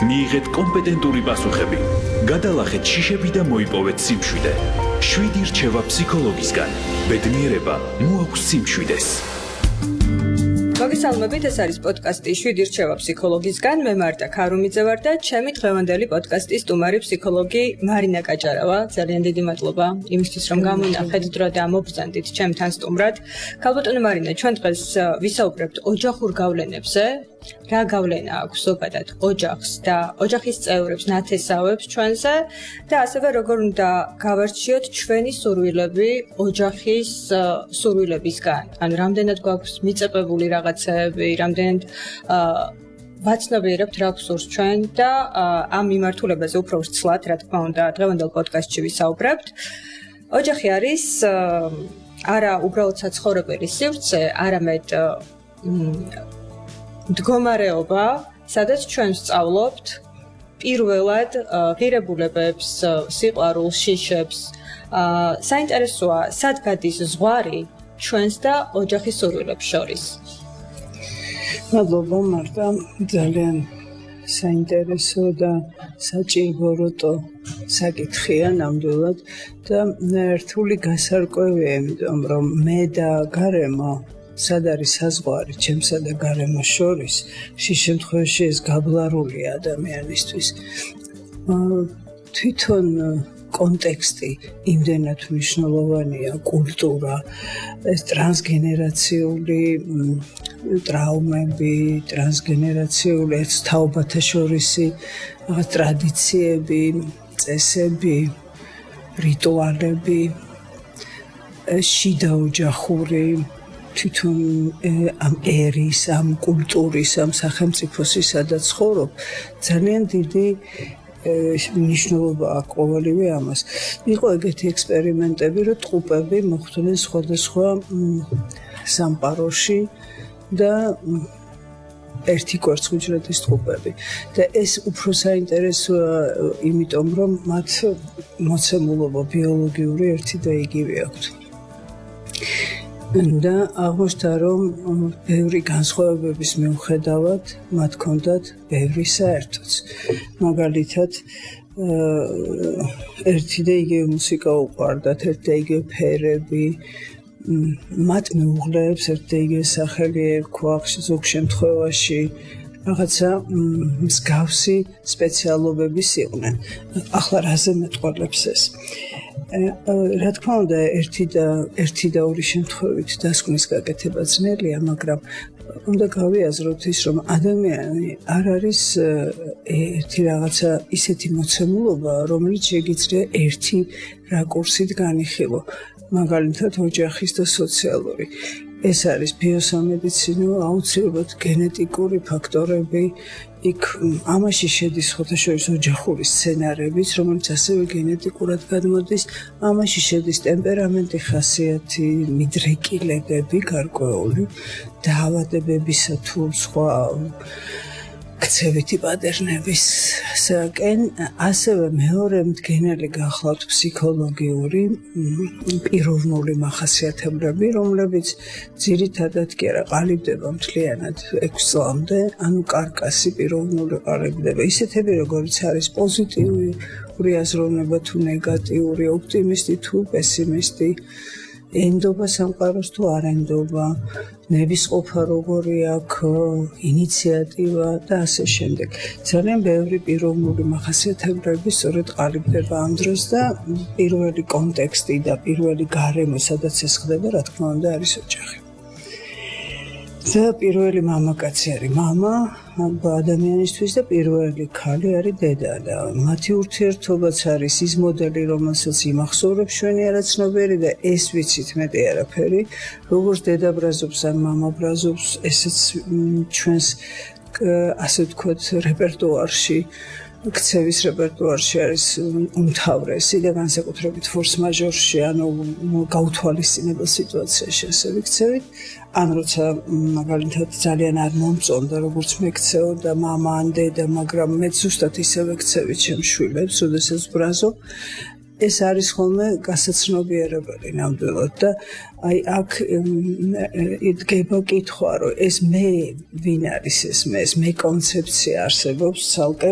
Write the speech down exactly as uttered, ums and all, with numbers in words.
მიიღეთ კომპეტენტური პასუხები, გადალახეთ შიშები და მოიპოვეთ სიმშვიდე. შვიდი რჩევა ფსიქოლოგისგან. ბედნიერება მოაქვს სიმშვიდეს. მოგესალმებით, ეს არის პოდკასტი შვიდი რჩევა ფსიქოლოგისგან. მე მარტა ქარუმიძე ვარ და ჩემი დღევანდელი პოდკასტის სტუმარი ფსიქოლოგი მარინა კაჭარავა. ძალიან დიდი მადლობა იმისთვის, რომ გამონახეთ დრო და მობრძანდით ჩემთან სტუმრად. ქალბატონო მარინა, ჩვენ დღეს ვისაუბრებთ ოჯახურ გავლენებზე. რა გავლენა აქვს ზოგადად ოჯახს და ოჯახის წევრებს, ნათესავებს ჩვენზე და ასევე როგორ უნდა გავარჩიოთ ჩვენი სურვილები ოჯახის სურვილებისგან. ანუ რამდენად გვაქვს მიწებებული რაღაცეები, რამდენად ვაცნობიერებთ რა გვსურს ჩვენ და ამ მიმართულებაზე უფრო ვცლად, რა თქმა უნდა, დღევანდელ პოდკასტში ვისაუბრებთ. ოჯახი არის არა უბრალოდ საცხოვრებელი სივრცე, არამედ მდგომარეობა, სადაც ჩვენ ვსწავლობთ პირველად ღირებულებებს, სიყვარულს, შიშებს. საინტერესოა, სად გადის ზღვარი ჩვენს და ოჯახის სურვილებს შორის. მადლობა მარტა, ძალიან საინტერესო და საჭიროებო საკითხია ნამდვილად და რთული გასარკვევია, იმიტომ რომ მე და გარემო სად არის საზღვარი ჩემსა და გარემოს შორის, შის შემთხვევაში ეს გაბლარულია ადამიანისთვის. თვითონ კონტექსტი იმდენად მნიშვნელოვანია, კულტურა, ეს ტრანსგენერაციული ტრაუმები, ტრანსგენერაციული ეს თაობათა შორისი რაღაც ტრადიციები, წესები, რიტუალები, შიდა ოჯახური თვითონ ამ ერის, ამ კულტურის, ამ სახელმწიფოს სადაც ცხოვრობ, ძალიან დიდი მნიშვნელობა აქვს ყოველივე ამას. იყო ეგეთი ექსპერიმენტები, რომ ტყუპები მოხვდნენ სხვადასხვა სამყაროში და ერთი კვერცხუჯრედის ტყუპები. და ეს უფრო საინტერესოა, იმიტომ რომ მათ მოცემულობა ბიოლოგიური ერთი და იგივე აქვთ. და აღმოჩნდა, რომ ბევრი განსხვავებების მიუხედავად მათ ჰქონდათ ბევრი საერთოც. მაგალითად, ერთი და იგივე მუსიკა უყვარდათ, ერთი და იგივე ფერები, მათ მეუღლეებს ერთი და იგივე სახელი ერქვა, ზოგ შემთხვევაში რაღაცა მსგავსი სპეციალობების იყვნენ. ახლა რაზე მეტყველებს ეს? რა თქმა უნდა, ერთი და ერთი და ორი შემთხვევით დასკვნის გაკეთება ძნელია, მაგრამ უნდა გავიაზროთ ის, რომ ადამიანი არ არის ერთი რაღაცა ისეთი მოცემულობა, რომელიც შეგიძლია ერთი რაკურსით განიხილო, მაგალითად ოჯახის და სოციალური. ეს არის ბიოსამედიცინო, აუცილებლად გენეტიკური ფაქტორები, იქ ამაში შედის ხოთაშორის ოჯახური სცენარებიც, რომელიც ასევე გენეტიკურად გადმოდის, ამაში შედის ტემპერამენტი, ხასიათი, მიდრეკილებები გარკვეული, დაავადებებისა თუ სხვა ქცევითი პატერნებისკენ, ასევე მეორე მდგენელი გახლავთ ფსიქოლოგიური, პიროვნული მახასიათებლები, რომლებიც ძირითადად კი არა ყალიბდება მთლიანად ექვს წლამდე, ანუ კარკასი პიროვნული ყალიბდება. ისეთები, როგორც არის პოზიტიური აზროვნება თუ ნეგატიური, ოპტიმისტი თუ პესიმისტი, ენდობა სამყაროს თუ არ ენდობა, ნებისყოფა როგორი აქვს, ინიციატივა და ასე შემდეგ. ძალიან ბევრი პიროვნული მახასიათებლები სწორედ ყალიბდება ამ დროს და პირველი კონტექსტი და პირველი გარემო, სადაც ეს ხდება, რა თქმა უნდა, არის ოჯახი. და პირველი მამაკაცი არის მამა ადამიანისთვის და პირველი ქალი არის დედა და მათი ურთიერთობაც არის ის მოდელი, რომელსაც იმახსოვრებს ჩვენი არაცნობიერი და ეს ვიცით მეტი არაფერი, როგორც დედა ბრაზობს ან მამა ბრაზობს, ესეც ჩვენს ასე ვთქვათ რეპერტუარში, ქცევის რეპერტუარში არის უმთავრესი და განსაკუთრებით ფორს მაჟორში, ანუ გაუთვალისწინებელ სიტუაციაში ასე ვიქცევით. ან როცა მაგალითად ძალიან არ მომწონდა, როგორც მეკცეო და მამა ან დედა, მაგრამ მე ზუსტად ისე ვექცევით ჩემს შვილებს, როდესაც ბრაზობ. ეს არის ხოლმე გასაცნობიერებელი ნამდვილად და აი აქ იდგება კითხვა, რომ ეს მე ვინ არის ეს მე, ეს მე კონცეფცია არსებობს ცალკე